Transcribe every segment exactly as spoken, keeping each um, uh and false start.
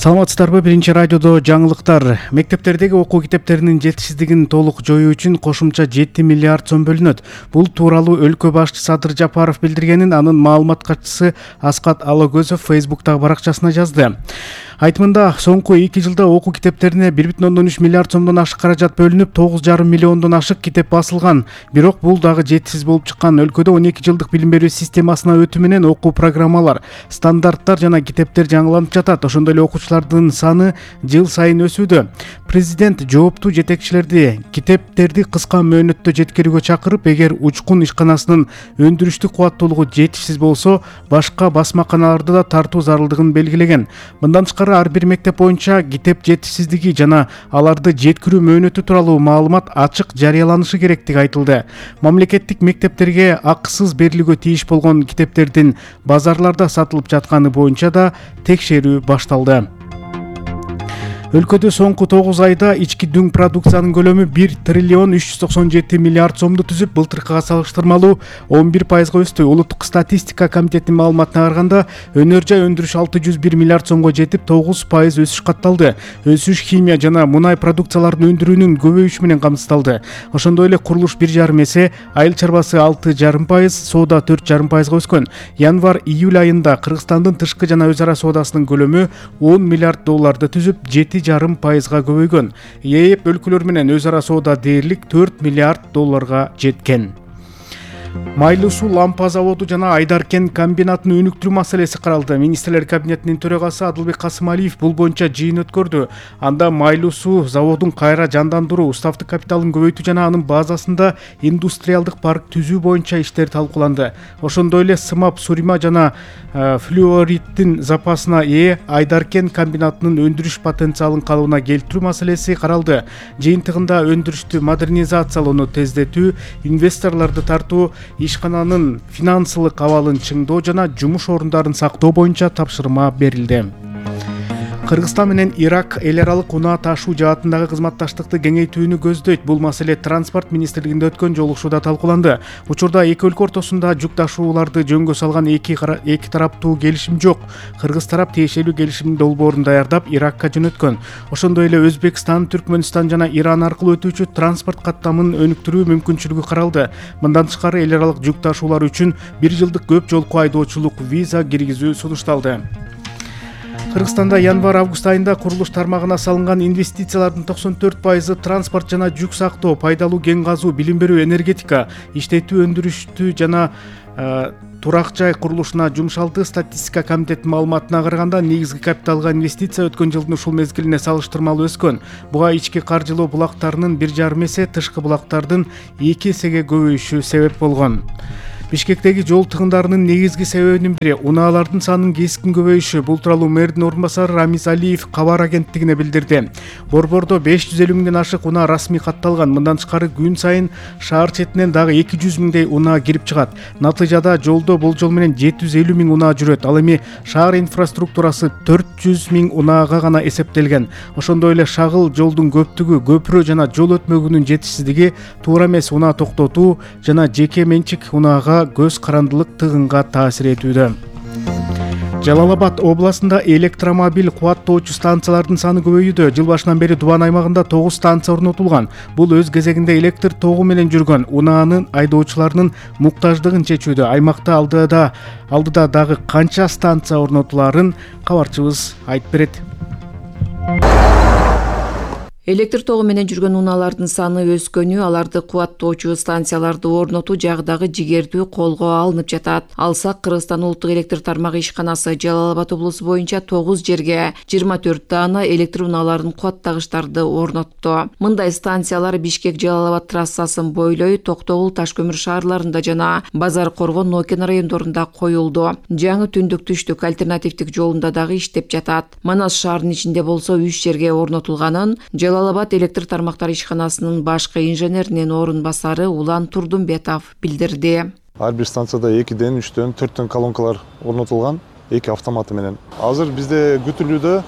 Саламатсыздарбы? Биринчи радиодо жаңылыктар. Мектептердеги окуу китептеринин жетишсиздигин толук жоюу үчүн кошумча жети миллиард сом бөлүнөт. Бул тууралуу өлкө башчысы Садыр Жапаров билдиргенин анын маалымат катчысы Аскат Алагөзов Фейсбуктагы баракчасына жазды. Айтымында соңку эки жылда окуу китептерине бир бүтүн ондон үч миллиард сомдон ашык каражат бөлүнүп, тогуз жарым миллиондон ашык китеп басылган. Бирок бул дагы жетишсиз болуп чыккан. Өлкөдө он эки жылдык билим берүү системасына өтүү менен окуу программалар, стандарттар жана китептер жаңыланып жатат. Ошондой эле окуучулардын саны жыл сайын өсүүдө. Президент жооптуу жетекчилерди китептерди кыска мөөнөттө жеткирүүгө чакырып, эгер учкун ишканасынын өндүрүштүк кубаттуулугу жетишсиз болсо, башка басмаканаларды да тартуу зарылдыгын белгилеген. Мындан тышкары ар бир мектеп боюнча китеп жетишсиздиги жана аларды жеткирүү мөөнөтү тууралуу маалымат ачык жарыяланышы керектиги айтылды. Мамлекеттик мектептерге акысыз берилүүгө тийиш болгон китептердин базарларда сатылып жатканы боюнча да текшерүү башталды. Өлкөдө соңку тогуз айда ички дүң продукциянын көлөмү бир триллион үч жүз токсон жети миллиард сомду түзүп, былтыркыга салыштырмалуу он бир пайызга өстү. Улуттук статистика комитетинин маалыматына караганда, өнөр жай өндүрүш алты жүз бир миллиард сомго жетип, тогуз пайыз өсүш катталды. Өсүш химия жана мунай продукцияларын өндүрүүнүн көбөйүшү менен камсыздалды. Ошондой эле курулуш бир жарым эсе, айыл чарбасы алты жарым пайыз, соода төрт жарым пайызга өскөн. Январь-июль айында Кыргызстандын тышкы жана өз ара соодасынын көлөмү он миллиард долларды түзүп, жети жарым пайызга көбөйгөн. ЕЭП өлкөлөр менен өз ара соода дээрлик төрт миллиард долларга жеткен. Майлуу суу лампа заводу жана Айдаркен комбинатын өнүктүрүү маселеси каралды. Министрлер кабинетинин төрагасы Адылбек Касымалиев бул боюнча жыйын өткөрдү. Анда майлуу суу заводун кайра жандандыруу, уставдык капиталын көбөйтүү жана анын базасында индустриалдык парк түзүү боюнча иштер талкууланды. Ошондой эле сымап, сурима жана флюориттин запасына ээ Айдаркен комбинатынын өндүрүш потенциалын калыбына келтирүү маселеси каралды. Жыйынтыгында өндүрүштү модернизациялоону тездетүү, инвесторлорду тартуу, ишкананын финансылык абалын чыңдоо жана жумуш орундарын сактоо боюнча тапшырма берилди. Кыргызстан менен Ирак эл аралык унаа ташуу жаатындагы кызматташтыкты кеңейтүүнү көздөйт. Бул маселе транспорт министрлигинде өткөн жолугушууда талкууланды. Учурда эки өлкө ортосунда жүк ташууларды жөнгө салган эки эки тараптуу келишим жок. Кыргыз тарап тиешелүү келишимдин долбоорун даярдап Иракка жөнөткөн. Ошондой эле Өзбекстан, Түркмөнстан жана Иран аркылуу өтүүчү транспорт каттамын өнүктүрүү мүмкүнчүлүгү каралды. Мындан тышкары эл аралык жүк ташуулар үчүн бир жылдык көп жолку айдоочулук виза киргизүү сунушталды. Кыргызстанда январь-август айында курулуш тармагына салынган инвестициялардын токсон төрт пайызы транспорт жана жүк сактоо, пайдалуу кен казуу, билим берүү, энергетика, иштетүү, өндүрүштү жана турак жай курулушуна жумшалды. Статистика комитетинин маалыматына караганда, негизги капиталга инвестиция өткөн жылдын ушул мезгилине салыштырмалуу өскөн. Буга ички каржылоо булактарынын бир жарым эсе, тышкы булактардын эки эсеге көбөйүшү себеп болгон. Бишкектеги жол тыгындарынын негизги себебинин бири унаалардын санынын кескин көбөйүшү. Бул тууралуу мэрдин орун басары Рамиз Алиев кабар агенттигине билдирди. Борбордо беш жүз элүү миңден ашык унаа расмий катталган. Мындан тышкары күн сайын шаар четинен дагы эки жүз миңдей унаа кирип чыгат. Натыйжада жолдо болжол менен жети жүз элүү миң унаа жүрөт. Ал эми шаар инфраструктурасы төрт жүз миң унаага гана эсептелген. Ошондой эле шагыл жолдун көптүгү, көпүрө жана жол өтмөгүнүн жетишсиздиги, туура эмес унаа токтотуу жана жеке менчик унаага көз карандылык тыгынга таасир этүүдө. Жалал-Абад областында электромобиль кубаттоочу станциялардын саны көбөйүүдө. Жыл башынан бери Дубан аймагында тогуз станция орнотулган. Бул өз кезегинде электр тогу менен жүргөн унаанын айдоочуларынын муктаждыгын чечүүдө. Аймакта алдыда алдыда дагы канча станция орнотуларын кабарчыбыз айтып берет. Электр тогу менен жүргөн унаалардын саны өскөнү, аларды кубаттоочу станцияларды орнотуу жагдагы жигердүү колго алынып жатат. Алсак, Кыргызстан улуттук электр тармагы ишканасы Жалал-Абад облусу боюнча тогуз жерге жыйырма төрт даана электр унааларын кубаттагычтарды орнотту. Мындай станциялар Бишкек Жалал-Абад трассасын бойлой, Токтогул, Ташкөмүр шаарларында жана Базар Коргон, Нокен райондорунда коюлду. Жаңы түндүк-түштүк альтернативдик жолунда дагы иштеп жатат. Манас шаарынын ичинде болсо үч жерге орнотулганын Жалал-Абад электр тармактары ишканасынын башкы инженеринин орун басары Улан Турдумбетов билдирди. Ар бир станцияда экиден, үчтөн, төрттөн колонкалар орнотулган, эки автоматы менен. Азыр бизде күтүлүүдө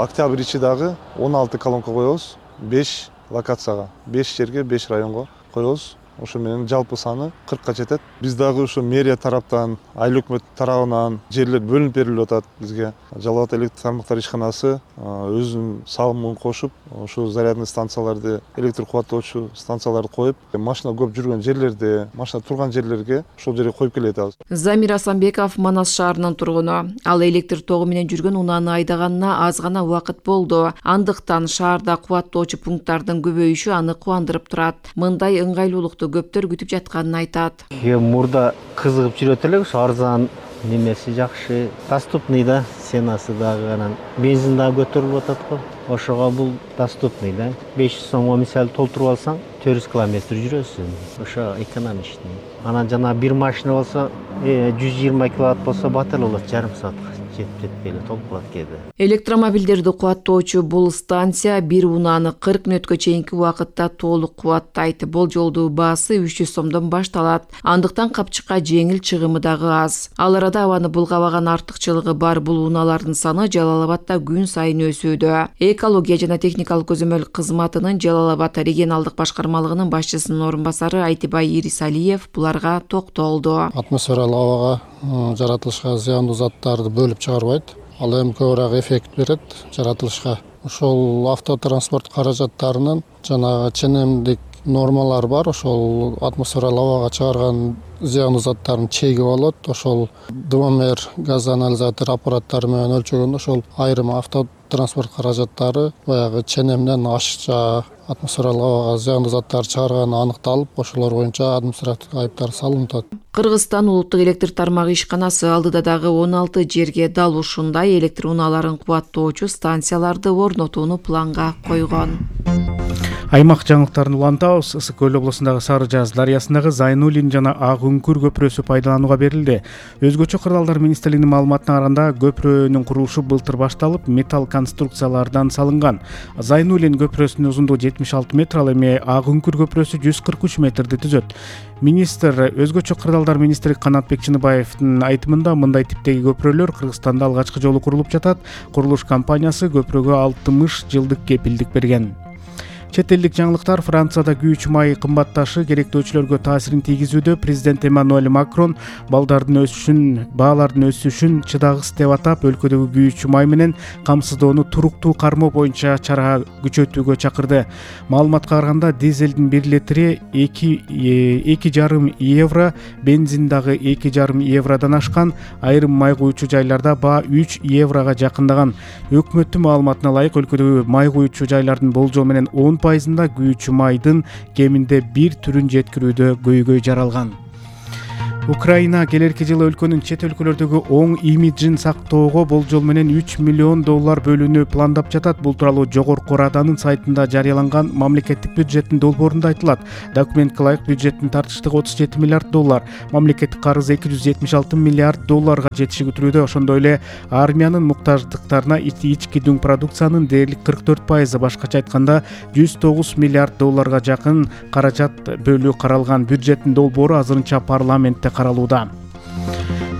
октябрь ичи дагы он алты колонка коебуз, беш локацияга, беш жерге, беш районго коебуз. ошо менен жалпы саны кыркка жетет. Биз дагы ошо мэрия тараптан, айыл өкмөт тарабынан жерлер бөлүнүп берилип атат бизге. Жалал Абад электр тармактар ишканасы өзүнүн салымын кошуп, ошо зарядный станцияларды, электр кубаттоочу станцияларды коюп, машина көп жүргөн жерлерде, машина турган жерлерге ошол жерге коюп келе атабыз. Замир Асанбеков Манас шаарынын тургуну. Ал электр тогу менен жүргөн унааны айдаганына аз гана убакыт болду. Андыктан шаарда кубаттоочу пункттардын көбөйүшү аны кубандырып турат. Мындай ыңгайлуулукту көптөр күтүп жатканын айтат. Мурда кызыгып жүрөт элек, ошо арзан немеси жакшы, доступный да, ценасы дагы анан бензин дагы көтөрүлүп атат го. Ошого бул доступный да. беш жүз сомго мисалы толтуруп алсаң, төрт жүз километр жүрөсүң. Ошо экономичный. Анан жана бир машина болсо, жүз жыйырма киловатт болсо батыр болот, жарым саатка жетип жетпей эле толуп калат кээде. Электромобилдерди кубаттоочу бул станция бир унааны кырк мүнөткө чейинки убакытта толук кубаттайт. Болжолдуу баасы үч жүз сомдон башталат. Андыктан капчыкка жеңил чыгымы дагы аз. Ал арада абаны булгабаган артыкчылыгы бар бул унаалардын саны Жалал Абадда күн сайын өсүүдө. Экология жана техникалык көзөмөл кызматынын Жалал Абад регионалдык башкармалыгынын башчысынын орун басары Айтибай Ирисалиев буларга токтолду. Атмосфералык абага жаратылышка зыяндуу заттарды бөлүп чыгарбайт. Ал эми көбүрөөк эффект берет жаратылышка. Ошол автотранспорт каражаттарынын жанагы ченемдик нормалар бар. Ошол атмосфералык абага чыгарган зыяндуу заттардын чеги болот. Ошол дымомер газ анализатор аппараттары менен өлчөгөндө ошол айрым автотранспорт каражаттары баягы ченемден ашыкча атмосфералык абага зыяндуу заттар чыгарганы аныкталып, ошолор боюнча административдик айыптар салынып атат. Кыргызстан улуттук электр тармагы ишканасы алдыда дагы он алты жерге дал ушундай электр унааларын кубаттоочу станцияларды орнотууну планга койгон. Аймак жаңылыктарын улантабыз. Ысык көл облусундагы Сары Жаз дарыясындагы Зайнуллин жана Ак Үңкүр көпүрөсү пайдаланууга берилди. Өзгөчө кырдаалдар министрлигинин маалыматына караганда, көпүрөнүн курулушу былтыр башталып, металл конструкциялардан салынган. Зайнуллин көпүрөсүнүн узундугу жетимиш алты метр, ал эми Ак Үңкүр көпүрөсү жүз кырк үч метрди түзөт. Министр өзгөчө кырдаалдар министри Канатбек Чыныбаевдин айтымында, мындай типтеги көпүрөлөр Кыргызстанда алгачкы жолу курулуп жатат. Курулуш компаниясы көпүрөгө алтымыш жылдык кепилдик берген. Чет элдик жаңылыктар. Францияда күйүүчү май кымбатташы керектөөчүлөргө таасирин тийгизүүдө. Президент Эммануэль Макрон балдардын өсүшүн, баалардын өсүшүн чыдагыс деп атап, өлкөдөгү күйүүчү май менен камсыздоону туруктуу кармоо боюнча чара күчөтүүгө чакырды. Маалыматка караганда, дизелдин бир литри эки жарым евро, бензин дагы эки жарым евродон ашкан. Айрым май куючу жайларда баа үч еврога жакындаган. Өкмөттүн маалыматына ылайык, өлкөдөгү май куючу жайлардын болжол менен он пайызында күйүүчү майдын кеминде бир түрүн жеткирүүдө көйгөй жаралган. Украина келерки жылы өлкөнүн чет өлкөлөрдөгү оң имиджин сактоого болжол менен үч миллион доллар бөлүүнү пландап жатат. Бул тууралуу Жогорку Раданын сайтында жарыяланган мамлекеттик бюджеттин долбоорунда айтылат. Документке ылайык бюджеттин тартыштыгы отуз жети миллиард доллар, мамлекеттик карыз эки жүз жетимиш алты миллиард долларга жетиши күтүлүүдө. Ошондой эле армиянын муктаждыктарына ички дүң продукциянын дээрлик кырк төрт пайызы, башкача айтканда жүз тогуз миллиард долларга жакын каражат бөлүү каралган. Бюджеттин долбоору азырынча парламентте каралууда.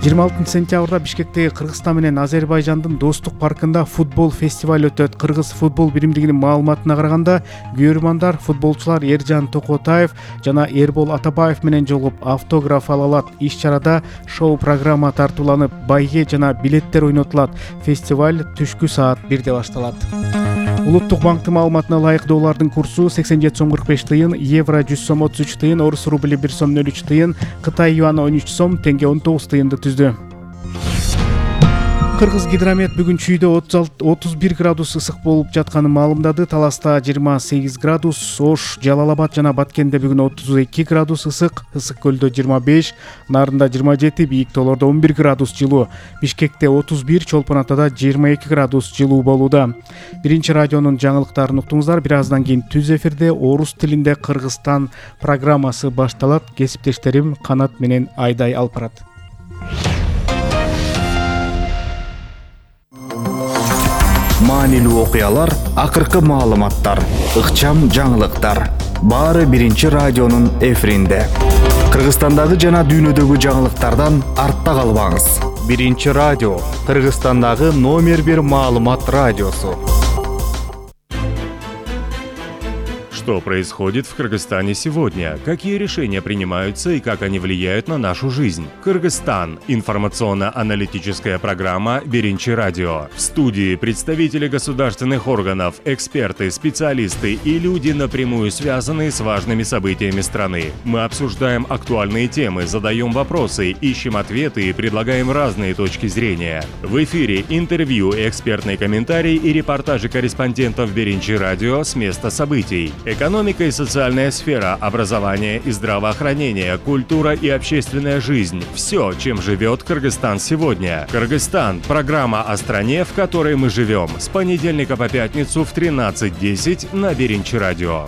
жыйырма алтынчы сентябрда Бишкектеги Кыргызстан менен Азербайжандын достук паркында футбол фестиваль өтөт. Кыргыз футбол биримдигинин маалыматына караганда, күйөрмандар футболчулар Эржан Токотаев жана Эрбол Атабаев менен жолугуп автограф ала алат. Иш-чарада шоу программа тартууланып, байге жана билеттер ойнотулат. Фестиваль түшкү саат бирде башталат. Улуттук банктын маалыматына ылайык доллардын курсу сексен жети сом кырк беш тыйын, евро жүз сом отуз үч тыйын, орус рубли бир сом нөл үч тыйын, Кытай юаны он үч сом, теңге он тогуз тыйынды түздү. Кыргыз гидромет бүгүн чүйдө отуз бир градус ысык болуп жатканын маалымдады. Таласта жыйырма сегиз градус, Ош, Жалал Абад жана Баткенде бүгүн отуз эки градус ысык, Ысык көлдө жыйырма беш, Нарында жыйырма жети, бийик тоолордо он бир градус жылуу. Бишкекте отуз бир, Чолпон Атада жыйырма эки градус жылуу болууда. Биринчи радионун жаңылыктарын уктуңуздар. Бир аздан кийин түз эфирде орус тилинде Кыргызстан программасы башталат. Кесиптештерим Канат менен Айдай алып барат. Маанилүү окуялар, акыркы маалыматтар, ыкчам жаңылыктар. Баары биринчи радионун эфиринде. Кыргызстандагы жана дүйнөдөгү жаңылыктардан артта калбаңыз. Биринчи радио, Кыргызстандагы номер бир маалымат радиосу. Что происходит в Кыргызстане сегодня? Какие решения принимаются и как они влияют на нашу жизнь? Кыргызстан. Информационно-аналитическая программа «Биринчи радио». В студии представители государственных органов, эксперты, специалисты и люди, напрямую связанные с важными событиями страны. Мы обсуждаем актуальные темы, задаем вопросы, ищем ответы и предлагаем разные точки зрения. В эфире интервью, экспертные комментарии и репортажи корреспондентов «Биринчи радио» с места событий. Экономика и социальная сфера, образование и здравоохранение, культура и общественная жизнь – все, чем живет Кыргызстан сегодня. Кыргызстан – программа о стране, в которой мы живем. С понедельника по пятницу в тринадцать десять на Биринчи радио.